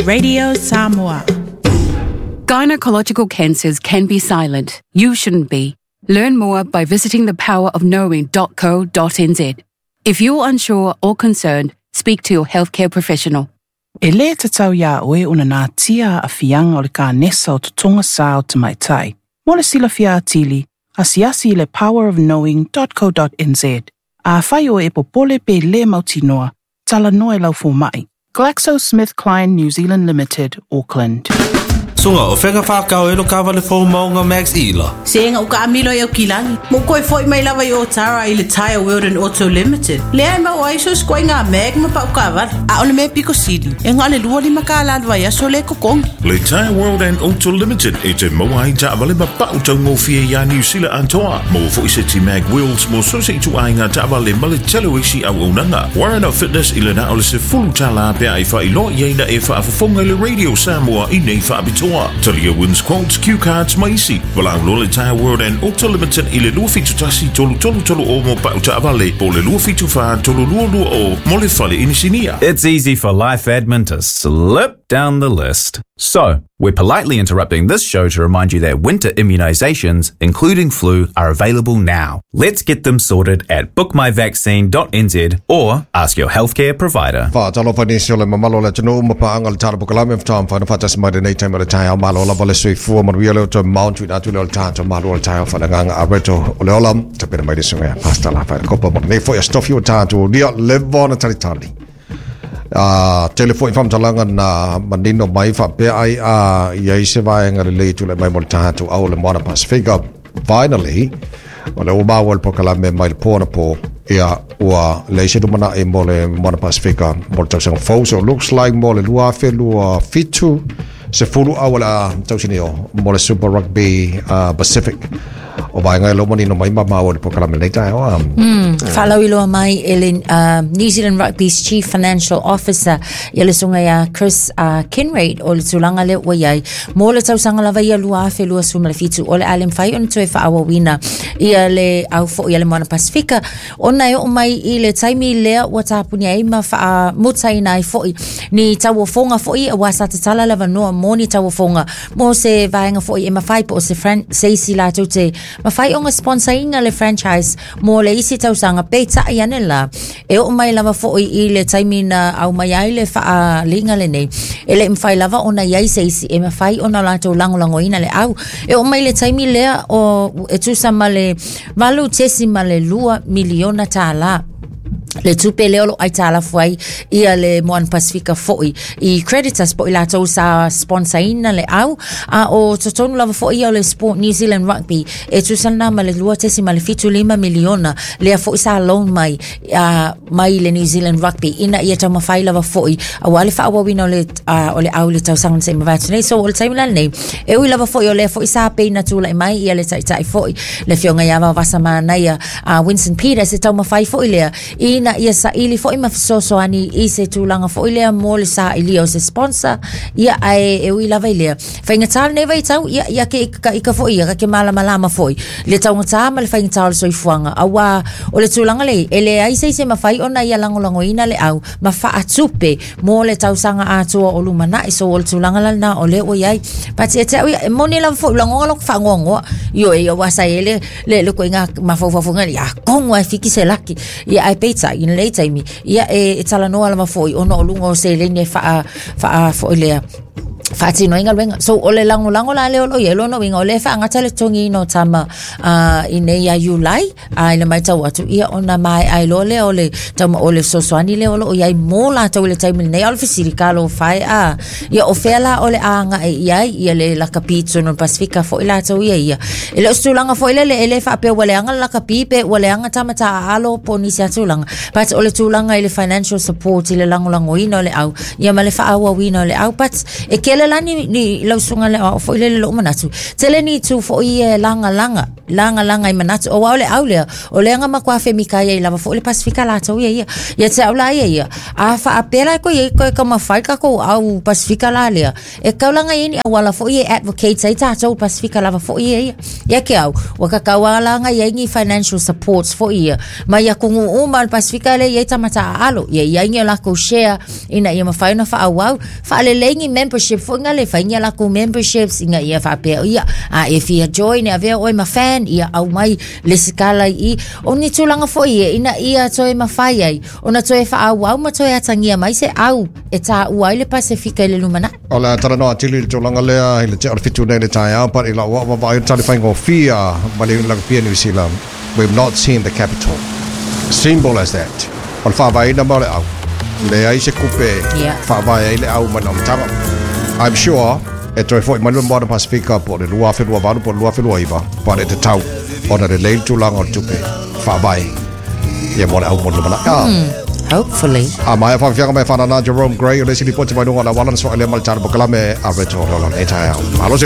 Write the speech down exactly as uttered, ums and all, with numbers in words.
Radio Samoa. Gynecological cancers can be silent. You shouldn't be. Learn more by visiting the power of knowing dot co dot n z. If you're unsure or concerned, speak to your healthcare professional. E lē tatau iā oe ona natia aafiaga o le kanesa o totoga sā o tamaitai. Mo le silafia atili, asiasi i le power of knowing dot co dot n z. Afai oe e popole pe lē mautinoa, talanoa i lau fomaʻi. GlaxoSmithKline New Zealand Limited, Auckland. Sunga o whenga whakao e lo kawale fō maunga Max Ila. Se nga uka amilo e o kilangi. Mo koe foi mai lava i o tara i le Tire World and Auto Limited. Lea e mau aiso skoe ngā mag ma pau kawale. A ole me piko sili. E ngā le lua lima ka la lua ia so le kokongi. Le Tire World and Auto Limited e te maua ai taavale ma pau taugofie ia New Zealand antoa. Mo foi se ti mag wheels mo so se itu ai ngā taavale ma le tele isi au aunanga. Warren of Fitness i le na o le se fulu tala pea i wha ilo ia ina e wha afafonga i le Radio Samoa i nei whaapitoa. Talia wins quotes, cue cards, maisi. Walau lo le Tire World and Auto Limited i le lua fitu tasi tolu tolu tolu o mo pau taavale po le lua fitu wha tolu lua lua o mo le fale inisinia. It's easy for life admin to slip down the list. So, we're politely interrupting this show to remind you that winter immunizations, including flu, are available now. Let's get them sorted at book my vaccine dot n z or ask your healthcare provider. Whaatalofa nisi o le mamalo le atunuu ma paanga le tala pokalame whataam whaina whatasi mai lenei taimi o le taeao malo lava le soifua manuia leo toe mount tuina atu leo le tātou malo o le taeao whananganga a reto o le ola tapena mai le sunga ya pasta la whaina kopa mo nei foi a stofi o tātou lia lewa na talitali. Uh, tele foi whamtalanga na manino mai whapea ai a ia i se vaenga le lei tule mai mo le tātou au le Moana Pasifika. Finally, o le umaua le pokalame mai le pōna pō ia ua le ise lumana e mo le Moana Pasifika mo le tausaga fou. So looks like mo le lua afe lua fitu se fulu au la tausini o mo le Super Rugby uh, Pacific. O vaenga e lo manino mai mamau le pokalame nei tae o. Mm, whalauiloa mai e le uh, New Zealand Rugby's Chief Financial Officer ia le sunga ia Chris uh, Kinraid o le tulaga le ua iai mo le tausaga lava ia lua afe lua sefulu ma le fitu o le a le mafai ona toe faaauauina ia le au foʻi ia le Moana Pasifika ona e oo mai i le taimi lea ua tapuni ai ma faamutaina ai foʻi ni tauofoga foʻi auā sa tatala le avanoa mo ni tauofoga mo se vaega foʻi e mafai po o se fran- se isi latou te mafai ona sponsorina le franchise mo le isi tausaga peitai ane la e oo mai lava foʻi i le taimi na au mai ai le faaliga lenei e leʻi mafai lava ona iai se isi e mafai ona latou lagolagoina le au e oo mai le taimi lea o e tusa ma le valu tesi ma le lua miliona tālā le tupe lea o loo aitalafu ai ia le Moana Pasifika foʻi i creditors po i latou sa sponsorina le au a o totonu lava foʻi ia o le Sport New Zealand Rugby e tusa lena ma le lua tesi ma le fitu lima miliona lea foʻi sa loan mai uh, mai le New Zealand Rugby ina ia taumafai lava foʻi auā le faaauauina o le, uh, o le au i le tausaga na seʻi mavae atu nei. So o le taimi la lenei e ui lava foʻi o lea foʻi sa peina tulaʻi mai ia le taʻitaʻi foʻi le afioga iā Vaovasa Manaia uh, Winston Peters e taumafai foʻi lea ina ia saili foʻi ma fesoasoani i se tulaga foʻi lea mo le saʻilia o se sponsor ia ae e ui lava i lea faigatā lenei vaitau ia ia ke ikaika foʻi ia kake malamalama foʻi le taugatā ma le faigatā o le soifuaga auā o le tulaga lei e leai se isi mafai ona ia lagolagoina le au ma faatupe mo le tausaga atoa o lumanaʻi. So o le tulaga lana o lea ua iai pati e te au ia e moni lava foʻi ulagoga loko faagoagoa io e ia ua sa e le le le koiga mafaufafoga ia kogo ai fiki se laki ia ae peitai i lenei taimi ia e, e talanoa lava foʻi ona o luga o seleni e faa faa foʻi lea faatinoina luega. So o le lagolago la lea o loo iai lona uiga o lea faagata le totogiina o tama uh, i nei ia Iulai a i le maitau atu ia ona maeae loa lea o le tauma o le fesoasoani lea o loo iai mo latou i le taimi lenei. A o le fesili kalo fae a ia o fea la o le agaʻi i ai ia le lakapi totonu o le Pasifika foʻi latou ia ia e le o se tulaga foʻi lele e lē faapea ua leaga le lakapi pe ua leaga tama taalo po o nisi a tulaga but o le tulaga i le financial support i le lagolagoina o le au ia ma le faaauauina o le au but e kele Tele la ni, ni lausunga le o foi le le manatu. Tele ni tu foi e langa langa, langa langa i manatu. O wao le au lea, o le anga makua fe mika ia i lava foi le Pasifika la tau ia ia. Ia te au la ia ia. A wha apela ko ia ko ka mawhai ka ko au Pasifika la lea. E kaulanga ia ni awala foi e advocate ai tātou Pasifika lava foi ia ia. Ia ke au, waka kaualanga ia ni financial supports foi ia. Ma ia kungu uma le Pasifika le ia tamata alo. Ia ia ngi la ko share ina ia mawhai na wha au. Wha le lengi membership foi nga le whai ngi la ko memberships inga ia wha pea ia. A e fia join ia vea oi ma fan ia au mai le sikala i. O ni tūlanga foi ia ina ia toe mawhai ai. Ona toe wha au au ma toe atangia mai se au e tā ua i le Pasifika i le lumana. O le taranoa tili le tūlanga lea i le te o le fitu nei le taeao, but i la ua wa vai tali whaingo fia ma le la pia New Zealand. We've not seen the capital. Simple as that. O le whaavaina ma le au. Le ai se kupe Yeah. whaavae ai le au mana o matanga. I'm sure e toe foi mai le Modern Pasifika po le lua whenua valu po le lua whenua iwa. But e te tau ona le leil tūlanga o le tupe whaavae. Ia mo le au mo le lumana. Ah. Hopefully. A mai whawhianga mai whanana Jerome Gray o le sili poti mai nunga la wala na swa ele mal tala bokalame a reto rola e tae au. Malo se